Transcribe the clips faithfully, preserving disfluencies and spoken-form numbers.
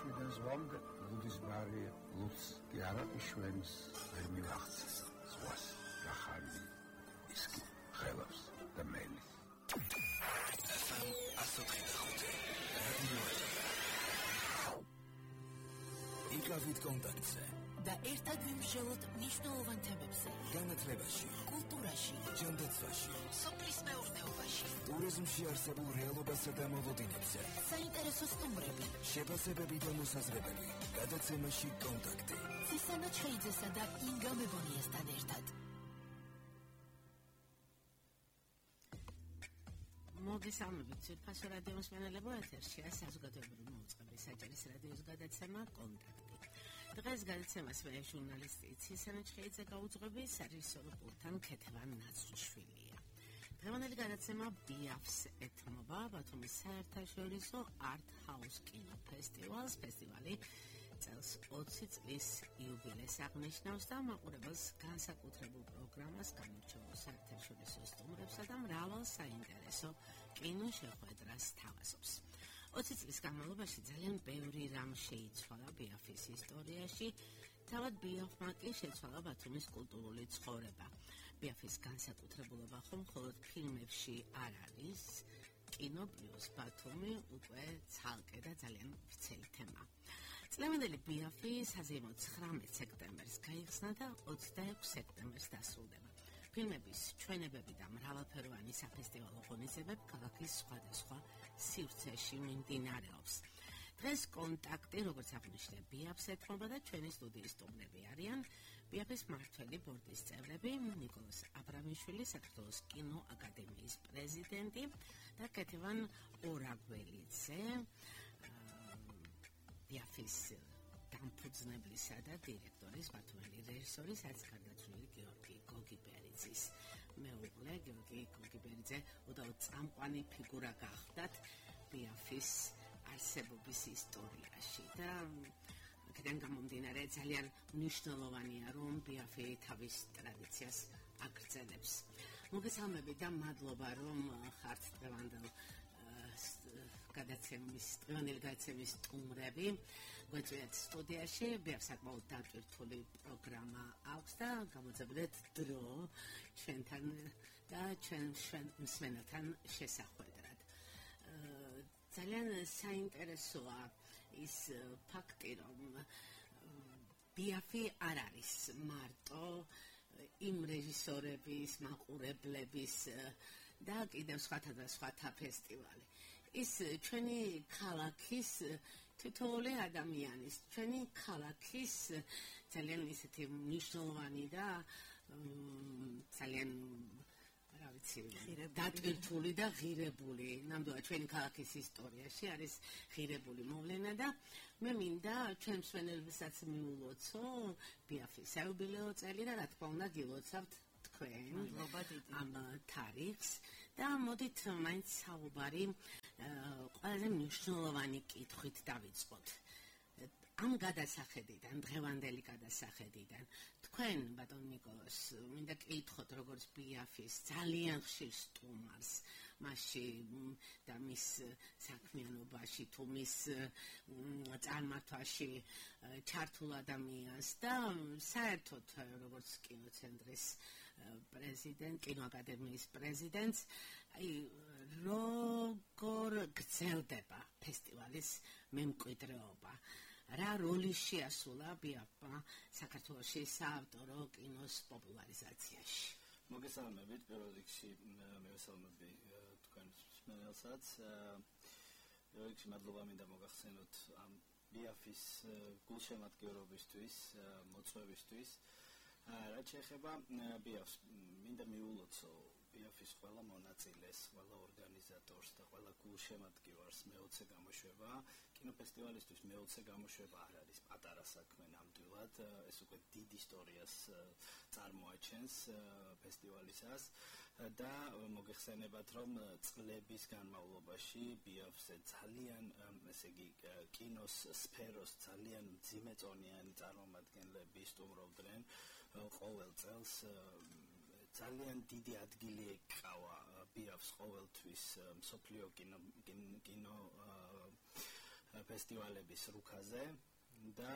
შვიდან ზვამდე ლუდის ბარი ლუც კი არაყიშვენს ვერ მივახცეს ზღვას რახანი ის კი ხელავს და მელის იკავით კონტაქტზე და ერთად ვიმსჯელოთ მნიშვნელოვან თემებზე განათლებაში, კულტურაში, ჯანდაცვაში, სოფლის მეურნეობაში, ტურიზმში არსებულ რეალობასა და მოლოდინებზე, საინტერესო სტუმრები, შეფასებები და მოსაზრებები, გადაცემაში კონტაქტი. ცისანა ჩხეიძესა და ინგა მებონიესთან ერთად. მოგესალმებით, ძვირფასო რადიო მსმენელებო, ეთერშია საზოგადოებრივი მოუწყებლის საჯარის რადიოს გადაცემა კონტაქტი. დღეს გადაცემას მე ჟურნალისტი ცისანა ჩხეიძე გაუძღვები, სარეჟისორო პულტთან ქეთევან ნაცრიშვილია. დღევანდელი გადაცემა ბიაფს ეთმობა ბათუმის საერთაშორისო art house კინოფესტივალს. ფესტივალი წელს ოცი წლის იუბილეს აღნიშნავს და მაყურებელს განსაკუთრებულ პროგრამას, გამორჩეულ საერთაშორისო სტუმრებსა და მრავალ საინტერესო კინოშეხვედრას თავაზობს. ოცი წლის განმავლობაში ძალიან ბევრი რამ შეიცვალა ბიაფის ისტორიაში, თავად ბიაფმა კი შეცვალა ბათუმის კულტურული ცხოვრება. ბიაფის განსაკუთრებულობა ხომ მხოლოდ ფილმებში არ არის, კინო პლუს ბათუმი უკვე ცალკე და ძალიან ვრცელი თემა. წლევანდელი ბიაფი საზეიმო ცხრამეტ სექტემბერს გაიხსნა და ოცდაექვსი სექტემბერს დასრულდება. ფილმების ჩვენებები და მრავალფეროვანი საფესტივალო ღონისძიებები ქალაქის სხვადასხვა სივრცეში მიმდინარეობს. დღეს კონტაქტი, როგორც აღნიშნე, ბიაფს ეთმობა და ჩვენი სტუდიის სტუმრები არიან ბიაფის მმართველი ბორდის წევრები, ნიკოლოზ აბრამიშვილი, საქართველოს კინოაკადემიის პრეზიდენტი და ქეთევან ორაგველიძე, ბიაფის დამფუძნებლისა და დირექტორის, ბათუმელი რეჟისორის, რაც გარდაცვლილი გიორგი გოგიბერიძის მეუღლე. გიორგი გოგიბერიძე უდავოდ წამყვანი ფიგურა გახდათ ბიაფის არსებობის ისტორიაში და აქედან გამომდინარე ძალიან მნიშვნელოვანია, რომ ბიაფი თავის ტრადიციას აგრძელებს. მოგესალმებით და მადლობა, რომ ხართ დღევანდელ გადაცემის დღევანდელი გადაცემის სტუმრები. გვეწვიათ სტუდიაში, ბიაფს საკმაოდ დატვირთული პროგრამა აქვს და გამოძებნეთ დრო ჩვენთან და ჩვენ მსმენელთან შესახვედრად. ძალიან საინტერესოა ის ფაქტი, რომ ბიაფი არ არის მარტო იმ რეჟისორების, მაყურებლების და კიდევ სხვათა და სხვათა ფესტივალი. ის ჩვენი ქალაქის თითოეული ადამიანის, ჩვენი ქალაქის ძალიან ისეთი მნიშვნელოვანი და ძალიან რა ვიცი, დატვირთული და ღირებული, ნამდვილად ჩვენი ქალაქის ისტორიაში არის ღირებული მოვლენა და მე მინდა ჩვენ მსმენელებსაც მიულოცო ბიაფის საიუბილეო წელი და რა თქმა უნდა გილოცავთ თქვენ ამ თარიღს და მოდით მაინც საუბარი ყველაზე მნიშვნელოვანი კითხვით დავიწყოთ. ამ გადასახედიდან, დღევანდელი გადასახედიდან, თქვენ, ბატონ ნიკოლოზ, მინდა კითხოთ, როგორც ბიაფის ძალიან ხშირ სტუმარს, მასში და მის საქმიანობაში, თუ მის წარმართვაში ჩართულ ადამიანს და საერთოდ როგორც კინოცენტრის პრეზიდენტ, კინოაკადემიის პრეზიდენტს, აი როგორ გრძელდება ფესტივალის მემკვიდრეობა? რა როლი შეასრულა ბიაფმა საქართველოში საავტორო კინოს პოპულარიზაციაში? მოგესალმებით, პირველ რიგში მევესალმები თქვენ მსმენელსაც. პირველ რიგში მადლობა მინდა მოგახსენოთ ამ ბიაფის გულშემატკივრობისთვის, მოწვევისთვის. რაც შეეხება ბიაფს, მინდა მიულოცო ბიაფის ყველა მონაწილეს, ყველა ორგანიზატორს და ყველა გულშემატკივარს მეოცე გამოშვება. კინოფესტივალისთვის მეოცე გამოშვება არ არის პატარა საქმე ნამდვილად, ეს უკვე დიდ ისტორიას წარმოაჩენს ფესტივალისას და მოგეხსენებათ, რომ წლების განმავლობაში ბიაფზე ძალიან, ესე იგი, კინოს სფეროს ძალიან მძიმეწონიანი წარმომადგენლები სტუმრობდნენ ყოველ წელს. ძალიან დიდი ადგილი ეკავა ბიაფს ყოველთვის მსოფლიო კინო კინო ფესტივალების რუქაზე და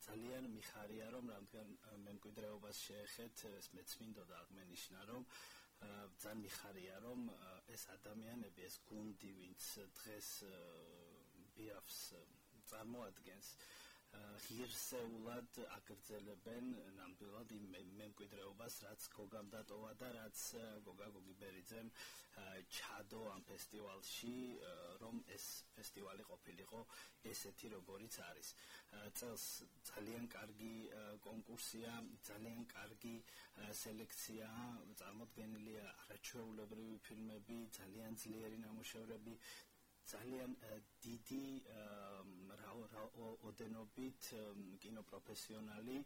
ძალიან მიხარია რომ რადგან მემკვიდრეობას შეეხეთ ეს მეც მინდოდა აღმენიშნა რომ ძალიან მიხარია რომ ეს ადამიანები ეს გუნდი ვინც დღეს ბიაფს წარმოადგენს ღირსეულად აგრძელებენ ნამდვილად იმ მემკვიდრეობას რაც გოგამ დატოვა და რაც გოგა გოგიბერიძემ ჩადო ამ ფესტივალში რომ ეს ფესტივალი ყოფილიყო ესეთი როგორიც არის წელს ძალიან კარგი კონკურსია ძალიან კარგი სელექცია წარმოდგენილია არაჩვეულებრივი ფილმები ძალიან ძლიერი ნამუშევრები ძალიან დიდი ოდენობით კინოპროფესიონალი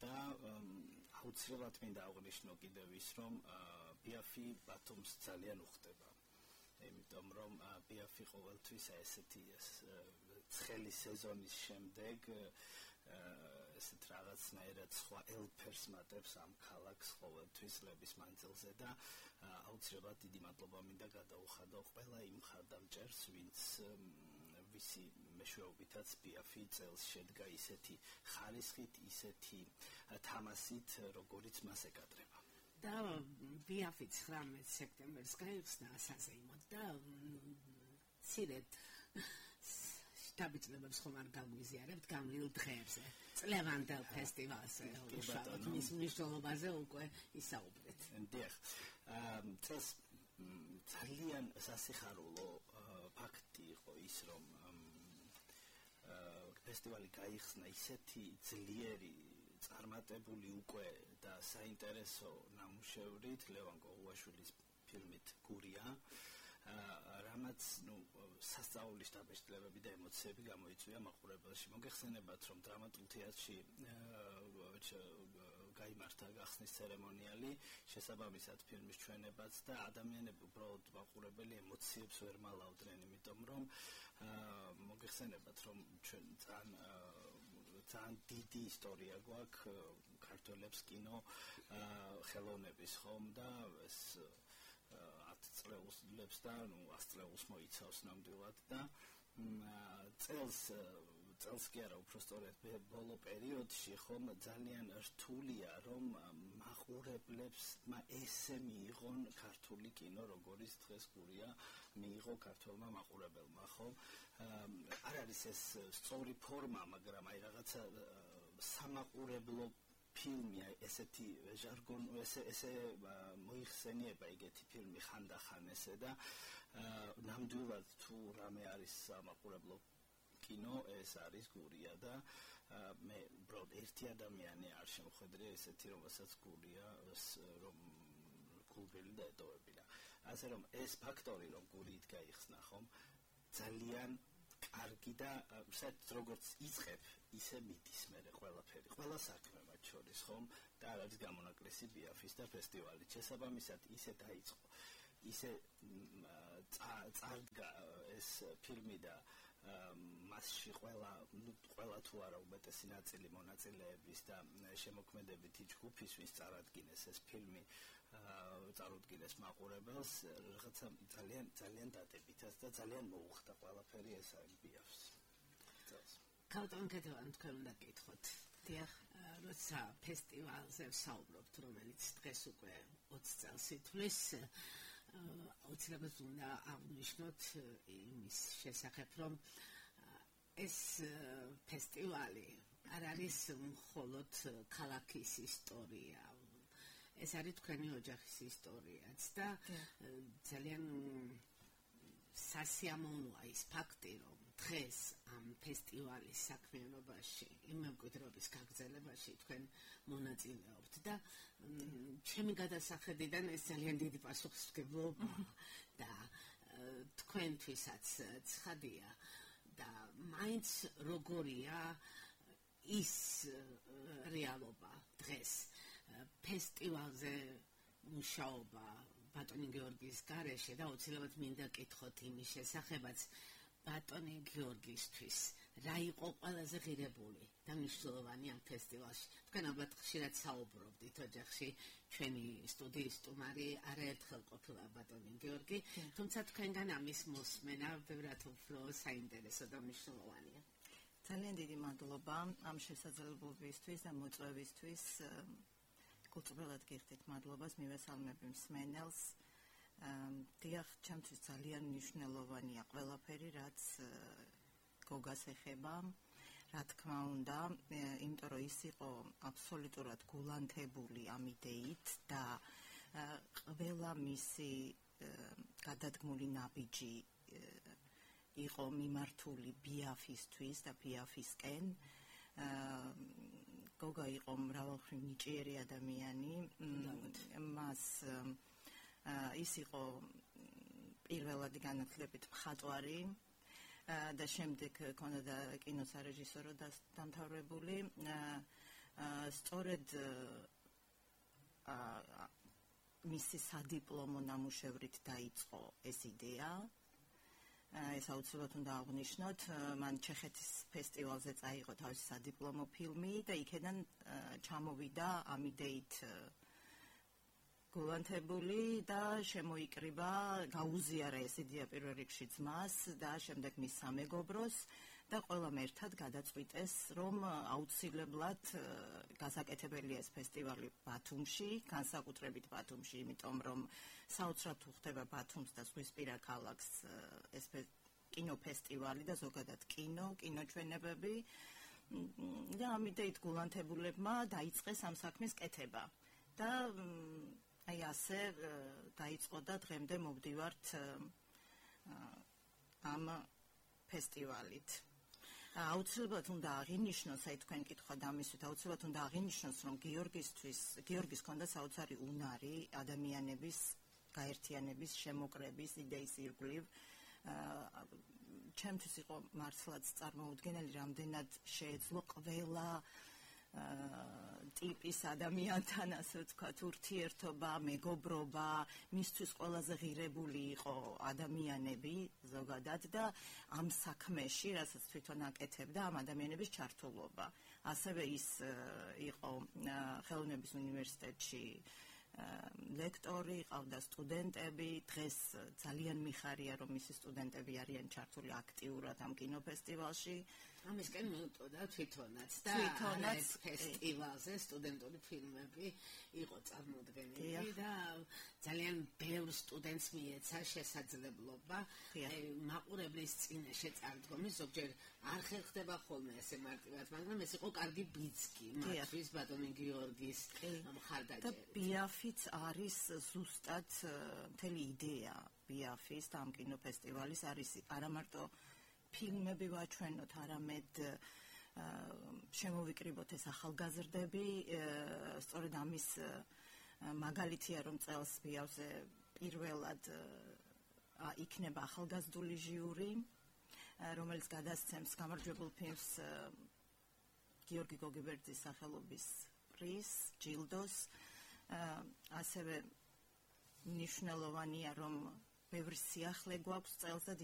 და აუცილებლად მინდა აღვნიშნო კიდევ ის რომ ბიაფი ბათუმს ძალიან უხდება იმიტომ რომ ბიაფი ყოველთვის ესეთი ცხელი სეზონის შემდეგ ესეთ რაღაცნაირად სხვა ელფერს მატებს ამ ქალაქს ყოველთვის წლების მანძილზე და აუცილებლად დიდი მადლობა მინდა გადაუხადო ყველა იმ მხარდამჭერს ვინც ვისი მეშვეობითაც ბიაფი წელს შედგა ისეთი ხარისხით ისეთი თამასით როგორიც მას ეკადრება და ბიაფი ცხრამეტ სექტემბერს გაიხსნა საზეიმოდ და ცირეთ შტაბიჭლებებს ხომ არ გაგვიზიარებთ გამრიულ დღეებზე წლევანდელ ფესტივალზე უშუალოდ მის მნიშვნელობაზე უკვე ისაუბრეთ დიახ წელს ძალიან სასიხარულო ფაქტი იყო ის რომ ფესტივალი გაიხსნა ისეთი ძლიერი წარმატებული უკვე და საინტერესო ნამუშევრით ლევან კოღუაშვილის ფილმით გურია რამაც ნუ სასწაულის დაბეჭდილებები და ემოციები გამოიწვია მაყურებელში მოგეხსენებათ რომ დრამატულ თეატრში გაიმართა გახსნის ცერემონიალი შესაბამისად ფილმის ჩვენებაც და ადამიანები უბრალოდ მაყურებელი ემოციებს ვერ მალავდნენ იმიტომ რომ მოგეხსენებათ რომ ჩვენ ძალიან ძალიან დიდი ისტორია გვაქვს ქართველებს კინო ხელოვნების ხომ და ეს ათ წლეულს და ნუ ას წლეულს მოიცავს ნამდვილად და წელს წელს კი არა უფრო სწორედ ბოლო პერიოდში ხომ ძალიან რთულია რომ მაყურებლებს ესე მიიღონ ქართული კინო როგორც დღეს გურია მიიღო ქართველმა მაყურებელმა ხომ არ არის ეს სწორი ფორმა მაგრამ აი რაღაცა სამაყურებლო ფილმი ესეთი ჟარგონ ესე ესე მოიხსენიება ეგეთი ფილმი ხანდახან ესე და ნამდვილად თუ რამე არის სამაყურებლო კინო ეს არის გურია და მე უბრალოდ ერთი ადამიანი არ შემოხვედრია ესეთი რომელსაც გურია რომ გულბელი და ეტოვებინა ასე რომ ეს ფაქტორი რომ გურით გაიხსნა ხომ ძალიან კარგი და საერთოდ როგორც იწყებ ისე მიდის მერე ყველაფერი ყველა საქმე მათ შორის ხომ და არ არის გამონაკლისი ბიაფის და ფესტივალის შესაბამისად ისე დაიწყო ისე წარდგა ეს ფილმი და მასში ყველა ნუ ყველა თუ არა უმეტესი ნაწილი მონაწილეების და შემოქმედებითი ჯგუფის ვის წარადგინეს ეს ფილმი წარუდგინეს მაყურებელს რაღაცა ძალიან ძალიან დადებითად და ძალიან მოუხდა ყველაფერი ეს არის ბიაფს ქალთან კეთილან თქვენ უნდა გითხოთ დიახ როცა ფესტივალზე ვსაუბრობთ რომელიც დღეს უკვე ოცი წელს ითვლის აუცილებლად უნდა აღნიშნოთ იმის შესახებ რომ ეს ფესტივალი არ არის მხოლოდ ქალაქის ისტორია ეს არის თქვენი ოჯახის ისტორიაც და ძალიან სასიამოვნოა ის ფაქტი რომ დღეს ამ ფესტივალის საქმიანობაში იმ მემკვიდრეობის გაგრძელებაში თქვენ მონაწილეობთ და ჩემი გადასახედიდან ეს ძალიან დიდი პასუხისმგებლობა და თქვენთვისაც ცხადია და მაინც როგორია ის რეალობა დღეს ფესტივალზე მუშაობა ბატონი გიორგის გარეშე და აუცილებლად მინდა კითხოთ იმის შესახებაც ბატონი გიორგისთვის რა იყო ყველაზე ღირებული და მნიშვნელოვანი ამ ფესტივალში. თქვენ ალბათ ხშირად საუბრობდით ოჯახში, ჩვენი სტუდიის სტუმარი არაერთხელ ყოფილა ბატონი გიორგი, თუმცა თქვენგან ამის მოსმენა ბევრად უფრო საინტერესო და მნიშვნელოვანია. ძალიან დიდი მადლობა ამ შესაძლებლობისთვის და მოწვევისთვის. გულწრფელად გიხდით მადლობას, მივესალმები მსმენელს. დიახ, ჩემთვის ძალიან მნიშვნელოვანია ყველაფერი, რაც გოგას ეხება, რა თქმა უნდა, იმიტომ რომ ის იყო აბსოლუტურად გულანთებული ამ იდეით და ყველა მისი გადადგმული ნაბიჯი იყო მიმართული ბიაფისთვის და ბიაფისკენ. გოგა იყო მრავალმხრივ ნიჭიერი ადამიანი, მას ის იყო პირველად განათლებით მხატვარი და შემდეგ ქონდა კინოსარეჟისორო დამთავრებული. სწორედ მისი სადიპლომო ნამუშევრით დაიწყო ეს იდეა. ეს აუცილებლად უნდა აღვნიშნოთ, მან ჩეხეთის ფესტივალზე წაიღო თავისი სადიპლომო ფილმი და იქედან ჩამოვიდა ამ იდეით გულანთებული და შემოიკრიბა, გაუზიარა ეს იდეა პირველ რიგში ძმას და შემდეგ მის სამეგობროს და ყველამ ერთად გადაწყვიტეს, რომ აუცილებლად გასაკეთებელია ეს ფესტივალი ბათუმში, განსაკუთრებით ბათუმში, იმიტომ რომ საოცრად თუ ხდება ბათუმს და ზღვისპირა ქალაქს ეს კინოფესტივალი და ზოგადად კინო, კინოჩვენებები და ამ იდეით გულანთებულებმა დაიწყეს ამ საქმის კეთება და აი ასე დაიწყო და დღემდე მოვდივართ ამ ფესტივალით. აუცილებლად უნდა აღინიშნოს, აი თქვენ კითხავთ ამისვით, აუცილებლად უნდა აღინიშნოს, რომ გიორგისთვის, გიორგის ჰქონდა საოცარი უნარი ადამიანების გაერთიანების, შემოკრების იდეის ირგვლივ. ჩემთვის იყო მართლაც წარმოუდგენელი, რამდენად შეეძლო ყველა ტიპის ადამიანთან, ასე ვთქვათ, ურთიერთობა, მეგობრობა, მისთვის ყველაზე ღირებული იყო ადამიანები ზოგადად და ამ საქმეში, რასაც თვითონ აკეთებდა, ამ ადამიანების ჩართულობა. ასევე ის იყო ხელოვნების უნივერსიტეტში ლექტორი, ყავდა სტუდენტები, დღეს ძალიან მიხარია, რომ მისი სტუდენტები არიან ჩართული აქტიურად ამ კინოფესტივალში. ამისკენ მიუტყოდა თვითონაც და თვითონაც ფესტივალზე სტუდენტური ფილმები იყო წარმოდგენილი და ძალიან ბევრ სტუდენტს მიეცა შესაძლებლობა მაყურებლის წინაშე წარდგომის, ზოგჯერ არ ხერხდება ხოლმე ესე მარტივად, მაგრამ ეს იყო კარგი ბიძგი მათთვის ბატონი გიორგის მხარდაჭერით. და ბიაფიც არის ზუსტად მთელი იდეა ბიაფის და ამ კინოფესტივალის არის არა მარტო ფილმები ვაჩვენოთ, არამედ შემოვიკრიბოთ ეს ახალგაზრდები, სწორედ ამის მაგალითია, რომ წელს ბიავზე პირველად იქნება ახალგაზრდული ჟიური, რომელიც გადასცემს გამარჯვებულ ფილმს გიორგი გოგებერძის სახელობის პრიზს, ჯილდოს. ასევე მნიშვნელოვანია, რომ ბევრი სიახლე გვაქვს წელს და